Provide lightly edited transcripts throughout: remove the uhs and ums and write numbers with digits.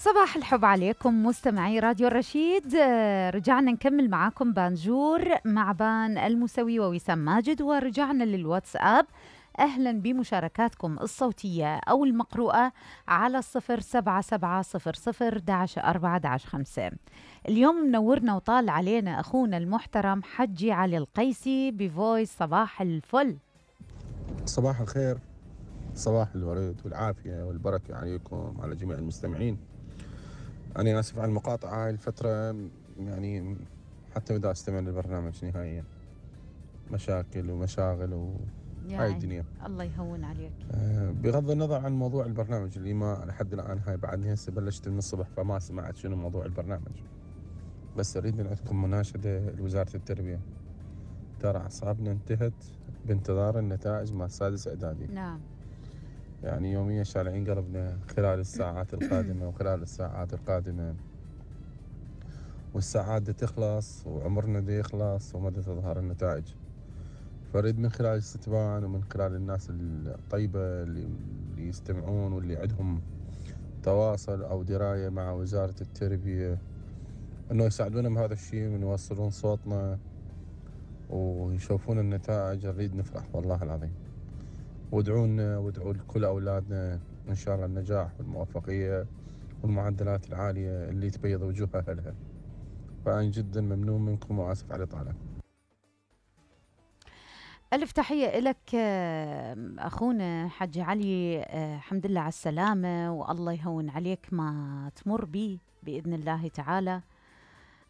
صباح الحب عليكم مستمعي راديو الرشيد. رجعنا نكمل معاكم بانجور مع بان المسوي ووسام ماجد، ورجعنا للواتساب. أهلا بمشاركاتكم الصوتية أو المقروءة على 07700-4-5. اليوم منورنا وطال علينا أخونا المحترم حجي علي القيسي بفويس. صباح الفل. صباح الخير، صباح الورد والعافية والبركة عليكم على جميع المستمعين. أنا آسف على المقاطعة هاي الفترة، يعني حتى بدأ أستمع للبرنامج نهائيا، مشاكل ومشاغل وهاي الدنيا. الله يهون عليك. بغض النظر عن موضوع البرنامج اللي ما لحد الآن هاي بعدني هسه بلشت من الصبح فما سمعت شنو موضوع البرنامج، بس أريد من عندكم مناشدة لوزارة التربية. ترى أعصابنا انتهت بانتظار النتائج مع السادس إعدادي. نعم. يعني يوميا شالعين قلبنا خلال الساعات القادمة وخلال الساعات القادمة، والساعات دي تخلص وعمرنا دي يخلص وما دي تظهر النتائج. فريد من خلال الاستتبان ومن خلال الناس الطيبة اللي يستمعون واللي عندهم تواصل أو دراية مع وزارة التربية أنه يساعدونا بهذا الشيء ويوصلون صوتنا ويشوفون النتائج. نريد نفرح والله العظيم. وادعونا وادعوا لكل أولادنا إن شاء الله النجاح والموفقية والمعدلات العالية اللي تبيض وجوه أهلها. فأنا جدا ممنون منكم وآسف على الإطالة. ألف تحية لك أخونا حجي علي. الحمد لله على السلامة والله يهون عليك ما تمر به بإذن الله تعالى.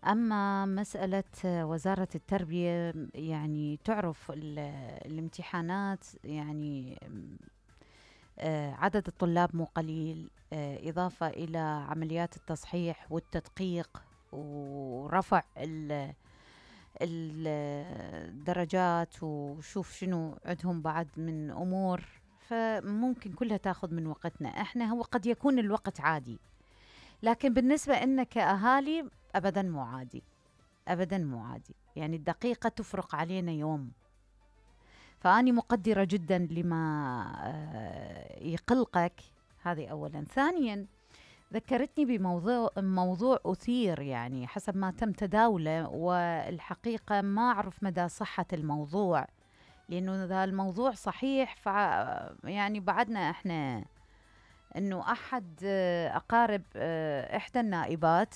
أما مسألة وزارة التربية، يعني تعرف الامتحانات، يعني عدد الطلاب مو قليل، إضافة إلى عمليات التصحيح والتدقيق ورفع الدرجات وشوف شنو عندهم بعد من أمور، فممكن كلها تاخذ من وقتنا. احنا هو قد يكون الوقت عادي، لكن بالنسبة لنا كأهالي أبدا مو عادي، أبدا مو عادي. يعني الدقيقة تفرق علينا يوم. فأني مقدرة جدا لما يقلقك. هذه أولا. ثانيا ذكرتني بموضوع أثير، يعني حسب ما تم تداوله، والحقيقة ما أعرف مدى صحة الموضوع، لأنه هذا الموضوع صحيح. يعني بعدنا إحنا أنه أحد أقارب إحدى النائبات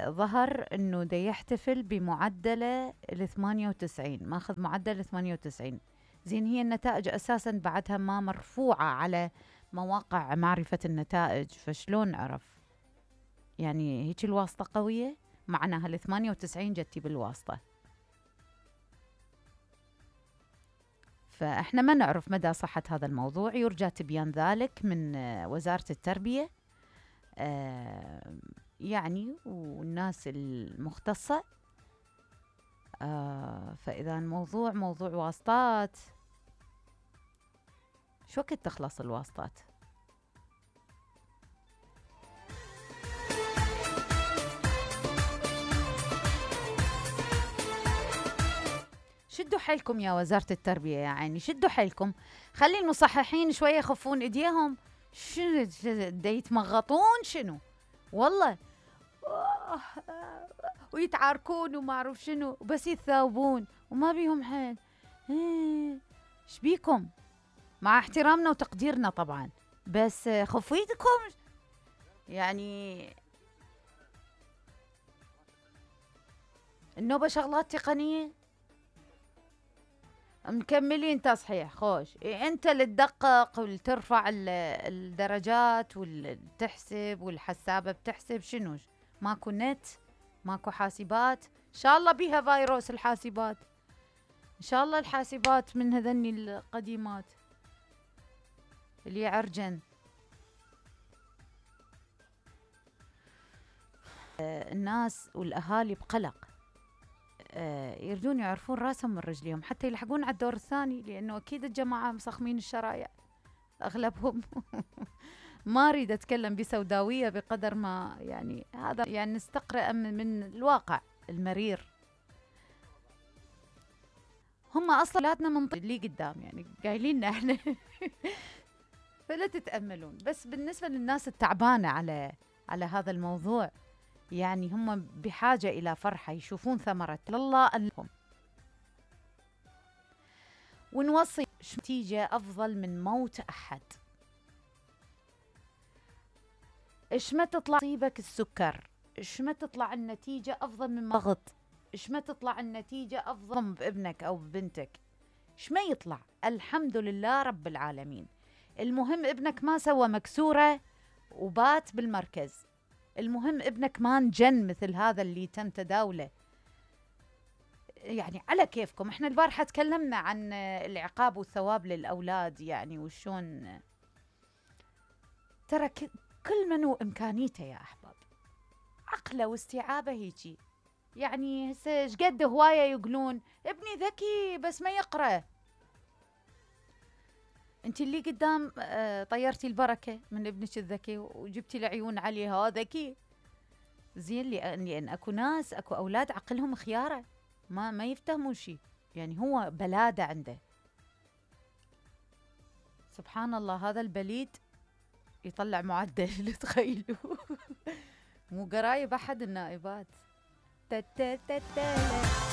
ظهر أنه دا يحتفل بمعدله 98، ماخذ معدل 98. زين، هي النتائج أساسا بعدها ما مرفوعة على مواقع معرفة النتائج، فشلون عرف؟ يعني هيك الواسطة قوية، معناها 98 جتي بالواسطة. فإحنا ما نعرف مدى صحة هذا الموضوع، يرجى تبيان ذلك من وزارة التربية يعني والناس المختصة. فإذا الموضوع موضوع واسطات، شو وقت تخلص الواسطات؟ شدوا حيلكم يا وزارة التربية، يعني شدوا حيلكم، خلي المصححين شوية يخفون ايديهم. شنو دا يتمغطون شنو والله، ويتعاركون وما اعرف شنو، بس يتثاوبون وما بيهم حيل. ايش بيكم؟ مع احترامنا وتقديرنا طبعا، بس خفوا ايدكم. يعني النوبة شغلات تقنية، مكملين تصحيح خوش. انت اللي تدقق والترفع الدرجات والتحسب والحسابة بتحسب شنو؟ ماكو نت، ماكو حاسبات. ان شاء الله بيها فيروس الحاسبات، ان شاء الله الحاسبات من هذني القديمات اللي يعرجن. الناس والاهالي بقلق، يريدون يعرفون راسهم من رجليهم حتى يلحقون على الدور الثاني، لأنه أكيد الجماعة مسخمين الشرايع أغلبهم. ما أريد أتكلم بسوداوية بقدر ما يعني هذا يعني نستقرأ من الواقع المرير. هم أصلا أولادنا من اللي قدام، يعني قايلين احنا فلا تتأملون. بس بالنسبة للناس التعبانة على هذا الموضوع، يعني هم بحاجة إلى فرحة، يشوفون ثمرة الله لهم. ونوصي نتيجة أفضل من موت أحد. إيش ما تطلع تصيبك السكر، إيش ما تطلع النتيجة أفضل من ضغط، إيش ما تطلع النتيجة أفضل بابنك أو ببنتك، إيش ما يطلع، الحمد لله رب العالمين. المهم ابنك ما سوى مكسورة وبات بالمركز، المهم ابنك ما انجن مثل هذا اللي تم تداوله. يعني على كيفكم، احنا البارحة تكلمنا عن العقاب والثواب للأولاد، يعني وشون ترى كل من وإمكانيته يا أحباب، عقله واستيعابه هيجي. يعني هسه ايش قد هواية يقولون ابني ذكي بس ما يقرأ. انت اللي قدام طيرتي البركة من ابنك الذكي وجبتي العيون عليه، ها ذكي زين. لأن اكو ناس، اكو أولاد عقلهم خيارة ما يفتهمون شيء، يعني هو بلادة عنده. سبحان الله، هذا البليد يطلع معدل تخيلوا. مو قرايب أحد النائبات.